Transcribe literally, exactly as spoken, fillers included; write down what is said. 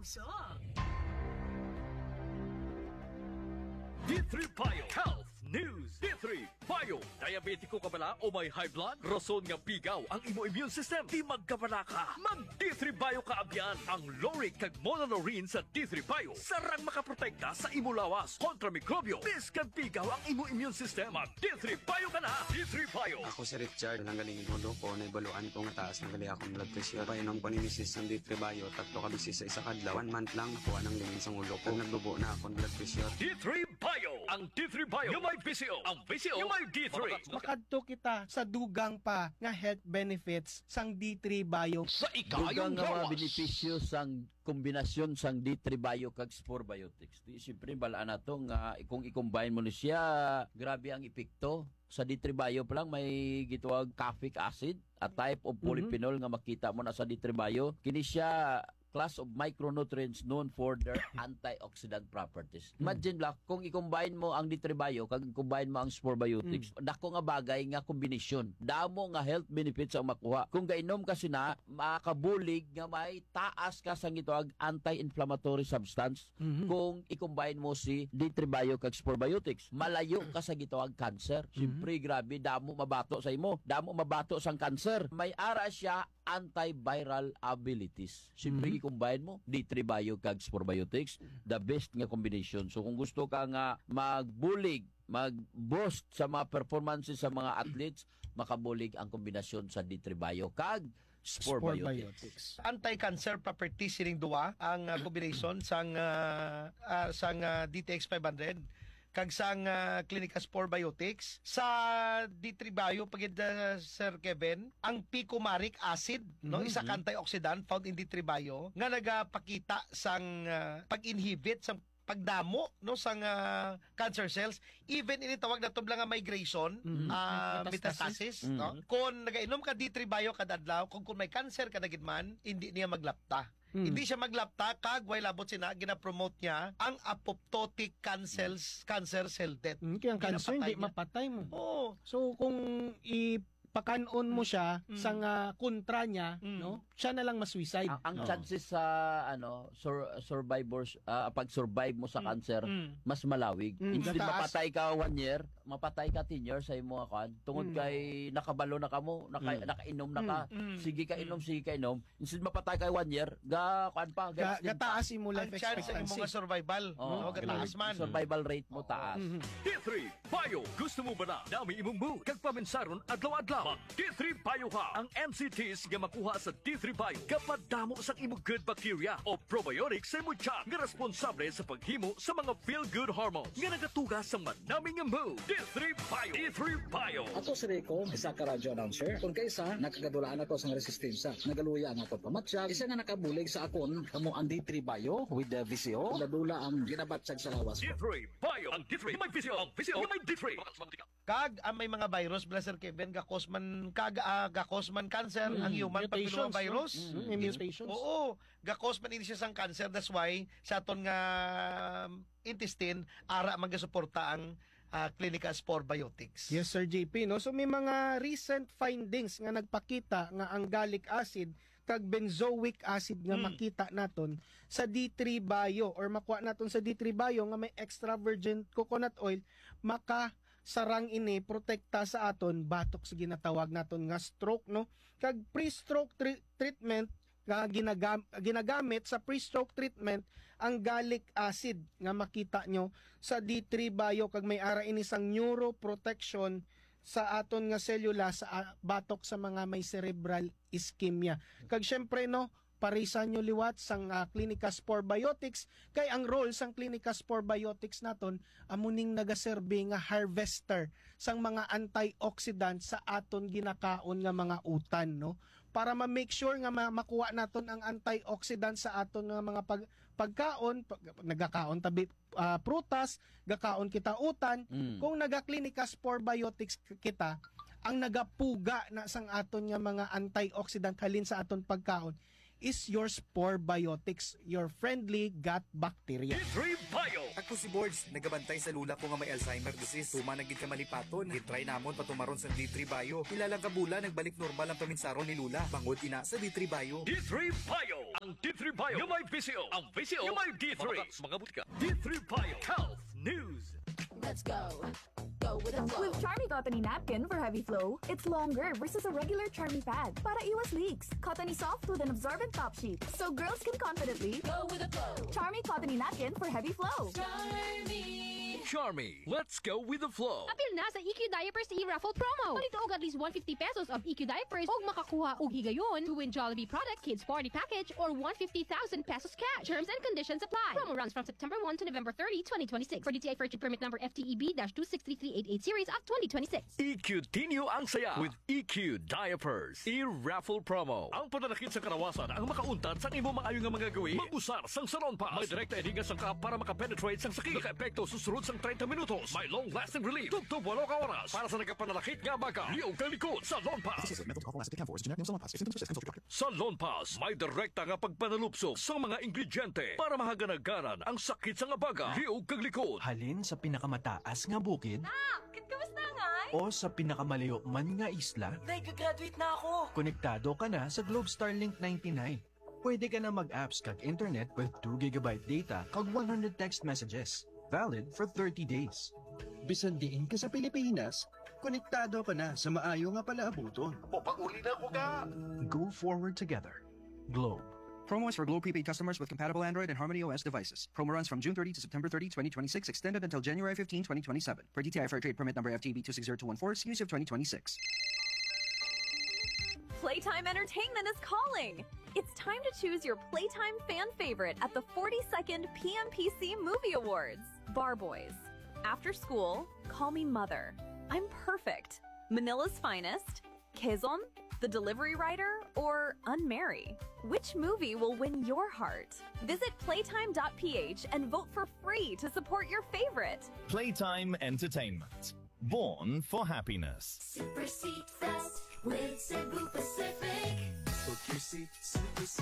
D three Bio Health News. D three Bio. Diabetiko ka bala o may high blood? Rason nga pigaw ang imo immune system. Di magkabala ka. Mag D three Bio ka abyan. Ang lauric kag monolaurin sa D three Bio sarang makaprotekta sa imo lawas kontra mikrobyo. Bisan pigaw ang imo immune system, mag D three Bio ka na. D three Bio. Ako si Richard, nanggaling ang ulo ko, naibaluan ko nga taas na gali akong blood pressure. Painom ko ni misis sang D three Bio, tatlo ka beses sa isa ka adlaw. One month lang, nakuha ng linis ang ulo ko. Naglubo na akong blood pressure. D three Bio. Ang D three Bio nga may V C O. Ang V C O nga may D three. Makadto kita sa dugang pa nga health benefits sang D three Bio. Sa ikayong Dugang nga mga lawas. Benepisyo sang kombinasyon sang D three Bio kag Spore Biotics. Di, siyempre, balaan nato nga kung i-combine mo ni siya, grabe ang epekto. Sa D three Bio pa lang, may gitawag caffeic acid, a type of Mhm. polyphenol nga makita mo na sa D three Bio. Kini siya class of micronutrients known for their antioxidant properties. Mm. Imagine, Black, kung i-combine mo ang D three Bio kag i-combine mo ang Spore Biotics, Mm. dako nga bagay nga kombinasyon. Damo nga health benefits ang makuha. Kung gainom ka sina, makabulig nga may taas ka sang gitawag anti-inflammatory substance Mhm. kung i-combine mo si D three Bio kag Spore Biotics. Malayo ka sa gitawag cancer. Mhm. Siyempre, grabe, damo mabato sa imo. Damo mabato sang cancer. May ara siya antiviral abilities. Siyempre, Mhm. i-combine mo, D three Bio kag Spore Biotics, the best nga combination. So, kung gusto ka nga magbulig, mag-boost sa mga performances sa mga athletes, makabulig ang kombinasyon sa D three Bio kag Spore Spore Biotics. Biotics. Anti-cancer properties sining duwa ang, ah, combination sang, ah, ah, sang, ah, D T X five hundred kag sang, ah, Clinica Spore Biotics. Sa D three Bio, pagid, ah, Sir Kevin, ang picomaric acid, no, Mhm. isa ka antioxidant found in D three Bio nga nagapakita sang, ah, pag-inhibit sang pagdamo, no, sang, ah, cancer cells, even ini tawag nato lang nga migration, Mhm. ah, Metastasis. metastasis, no? Mhm. Kung nagainom ka D three Bio kada adlaw, kung, kung may cancer ka na gid man, hindi niya maglapta. Mhm. Hindi siya maglapta, kag way labot sina, ginapromote niya ang apoptotic cancer, cancer cell death. Mhm, kaya ang cancer, hindi Ginapatay niya. mapatay mo. Oo. So, kung i-, pakan-on mo siya Mm. sa nga kontra niya, Mm. no? Siya na lang ma-suicide. Ang, ang Oo. chances sa, ano, sur-, survivors, ah, pag-survive mo sa Mm. cancer, Mm. mas malawig. Mm. Instead Gataas. mapatay ka one year, mapatay ka ten years sa imo nga kwan. Tungod Mm. kay nakabalo na kamo, naka-, Mm. nakainom na ka. Mm. Mm. Sige ka inom, Mm. sige ka inom. Instead mapatay ka one year, ga, kwan pa, Ga-, ga-, gataas imo life Ang chance sa imo expectancy. nga survival. Oo. Oo, gataas man. Survival rate mo Oo. taas. Mhm. D three Bio. Gusto mo ba na dami imong mood kag paminsaron adlaw-adlaw? Mag D three Bio ka. Ang N C Ts nga makuha sa D three Bio gapadamo sang imong good bacteria o probiotics sa imong tiyan nga responsable sa paghimo sa mga feel-good hormones nga nagatuga sa manami nga mood. D three Bio. D three Bio. Ako si Rico, isa ka radyo announcer. Kung kaisa, nakagadulaan ako sa resistensya. Nagaluya ang akong pamatyag. Isa nga nakabulig sa akon, kamo ang D three Bio with the V C O. Nadula ang ginabatyag sa lawas ko. D three Bio. Ang D three may V C O. Ang V C O may D three. Kag ang may mga virus, bala, Sir Kevin, gakos man, kag, ah, gakos man cancer, Mm. ang human Mutations, papillomavirus. no? Mm, may mutations. Oo, gakos man ini siya sang cancer. That's why, sa aton nga intestine, ara man gasuporta ang, ah, Clinica Spore Biotics. Yes, Sir J P, no? So, may mga recent findings nga nagpakita nga ang gallic acid kag benzoic acid nga Mm. makita naton sa D three Bio or makuha naton sa D three Bio nga may extra virgin coconut oil, maka sarang ini protekta sa aton batok sa ginatawag naton nga stroke, no? Kag pre-stroke tre-, treatment nga ginagam-, ginagamit sa pre-stroke treatment ang gallic acid nga makita nyo sa D three Bio, kag may ara ini sang neuroprotection sa aton nga selula sa, ah, batok sa mga may cerebral ischemia. Kag syempre, no, parisan nyo liwat sang, ah, Clinica Spore Biotics, kay ang role sang Clinica Spore Biotics naton amo ning nagaserbi nga harvester sang mga antioxidant sa aton ginakaon nga mga utan, no? Para ma-make sure nga ma-, makuha naton ang antioxidant sa aton nga mga pag-, pagkaon, pag-, nagakaon tabi, ah, prutas, gakaon kita utan. Mm. Kung naga-Clinica Spore Biotics k-, kita, ang nagapuga na sang aton nga mga antioxidant halin sa aton pagkaon, is your Spore Biotics, your friendly gut bacteria. D three Bio. Ako si Borge, nagabantay sa lula ko nga may Alzheimer disease. Tuman na gid ka malipaton. Gitry namon patumaron sa D three Bio. Pila lang ka bulan, nagbalik normal ang paminsaron ni Lula. Bangod ina sa D three Bio. D three Bio. Ang D three Bio nga may V C O. Ang V C O nga may D three. Mga, mga butika. D three Bio. Health News. Let's go. Go with the flow. With Charmy Cottony Napkin for heavy flow, it's longer versus a regular Charmy pad para iwas leaks. Cottony soft with an absorbent top sheet, so girls can confidently Go with the flow. Charmy Cottony Napkin for heavy flow. Charmy. Charmy. Let's go with the flow. Apil na sa E Q Diapers e-raffle promo. Palituog at least one fifty pesos of E Q Diapers ug makakuha og higayon to win Jollibee product, kids party package, or one fifty thousand pesos cash. Terms and conditions apply. Promo runs from September one to November thirty, twenty twenty-six. For D T I Fair Trade Permit Number F T E B dash two six three three eight eight series of twenty twenty-six. E Q Tinyo ang saya with E Q Diapers. E-raffle promo. Ang pananakit sa kalawasan ang makauntat sa imo maayo nga mga gawi. Mag-usar sang Salon Pass. May direkta ini nga sangkap para makapenetrate sang sakit. Nakaepekto susunod sang treinta minutos. May long-lasting relief. Tubtob walo ka oras. Para sa nagapananakit nga abaga, liog kag likod. Salon Pass. Associated with mental health last. If symptoms persist, consult your doctor. Sa Lonpas, may direkta nga pagpanalupsok sa mga ingrediente para mahaganaganan ang sakit sa nga baga, liog kag likod. Halin sa pinakamataas nga bukid Nak, kamusta nga? O sa pinakamalayo man nga isla, Nag-graduate na ako. Konektado ka na sa Globe Starlink ninety-nine. Pwede ka na mag-apps kag internet with two gigabyte data kag one hundred text messages, valid for thirty days. Bisan diin ka sa Pilipinas, konektado ka na sa maayo nga palaabuton. Mopauli na ko ka! Go forward together. Globe. Promo is for Globe prepaid customers with compatible Android and Harmony O S devices. Promo runs from June thirty to September thirty, twenty twenty-six, extended until January fifteenth, twenty twenty-seven. For D T I Fair Trade Permit Number F T B two six zero two one four, series of twenty twenty-six. Playtime Entertainment is calling! It's time to choose your Playtime fan favorite at the forty-second P M P C Movie Awards. Bar Boys. After School, Call Me Mother. I'm Perfect. Manila's Finest. Quezon, The Delivery Rider, or Unmarry? Which movie will win your heart? Visit playtime dot p h and vote for free to support your favorite. Playtime Entertainment. Born for happiness. Super Seat Fest with Cebu Pacific. Book your seat